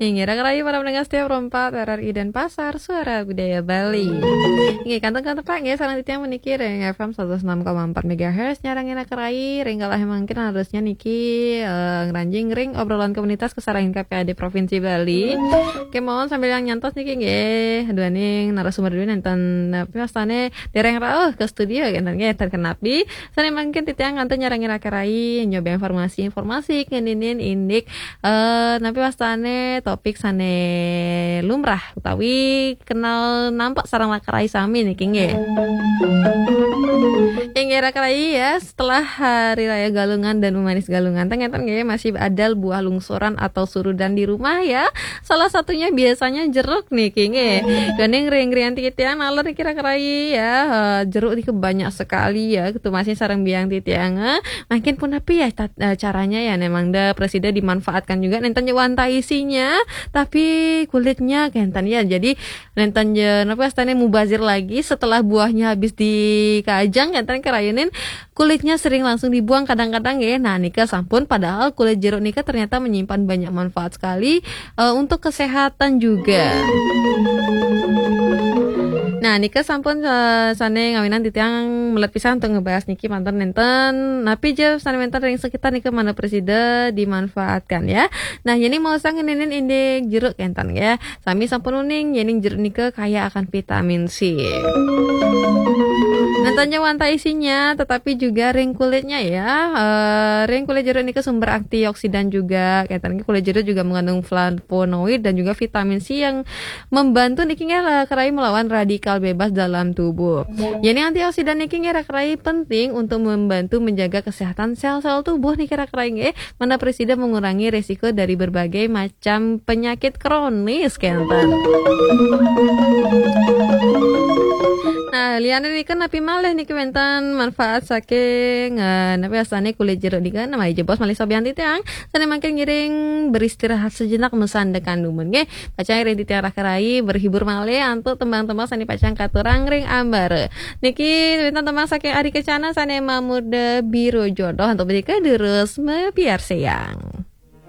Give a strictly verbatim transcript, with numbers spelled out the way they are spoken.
Inggih, raka rahayu para pendengar setia Pro empat R R I Denpasar, Suara Budaya Bali. Inggih, kantun-kantun Pak, nggih, sareng titiang puniki ring F M seratus enam koma empat megahertz, nyarengin raka rahayu, ring kala mangkin harusnya niki, eh, ngranjing ring obrolan komunitas kasarengin K P A D Provinsi Bali. Kemawon sambil yang nyantos niki, nggih, duaning narasumber duaning nenten, napi wastane dereng rauh ke studio, nggih, nenten, nggih, nenten kenapi. Sane mangkin titiang kantun nyarengin raka rahayu, nyoba informasi-informasi, ngeninin indik eh, napi wastane topik sane lumrah utawi kenal nampak sareng raka rahayu sami niki, nggih. Inggih, raka rahayu, ya, setelah Hari Raya Galungan dan Memanis Galungan, ten ngeten, nggih, masih ada buah lungsuran atau surudan di rumah, ya. Salah satunya biasanya jeruk niki, nggih. Gandeng ring-ring titiang nalon niki, raka rahayu, ya. Eh, jeruk niki banyak sekali, ya, ketumasnya sareng biang titiang, eh. Mangkin punapi, ya, tat-, eh, caranya, ya, ne mangda prasida dimanfaatkan juga, nenten ja wantah isinya, tapi kulitnya kenten, ya. Jadi nenten ja, napi wastane, mubazir lagi setelah buahnya habis dikajang, kenten, karayunin kulitnya sering langsung dibuang kadang-kadang, ya. Nah, nika sampun, padahal kulit jeruk nika ternyata menyimpan banyak manfaat sekali, eh, untuk kesehatan juga. Nah, nika sampun, eh, sane ngawinan titiang melet pisan untuk ngebahas niki manten nenten. Napi ja sane wenten ring sekitar nika mangda prasida dimanfaatkan, ya. Nah, ini mau sang ngeninin indik jeruk kenten, ya. Sami sampun uning, yening jeruk nika kaya akan vitamin C. Nenten ja wantah isinya, tetapi juga ring kulitnya, ya. Eh, ring kulit jeruk nika sumber antioksidan juga. Kenten, kulit jeruk juga mengandung flavonoid dan juga vitamin C yang membantu niki, nggih, raka rahayu, melawan radikal bebas dalam tubuh. Yening antioksidan niki, nggih, raka rahayu, penting untuk membantu menjaga kesehatan sel-sel tubuh niki, raka rahayu, nggih. Mangda prasida mengurangi resiko dari berbagai macam penyakit kronis, kenten. Nah, liane nika napi malih niki wenten manfaat saking, eh, napi wastane kulit jeruk nika, nah, malih jebos malih sobian titiang. Sane mangkin ngiring beristirahat sejenak, masandekan dumun, nggih. Pacang ngiring titiang raka rahayu berhibur malih antuk tembang-tembang sane pacang katurang ring ambara. Niki wenten tembang saking Ari Kencana sane mamurda Biro Jodoh, antuk menika durus mapiarsayang.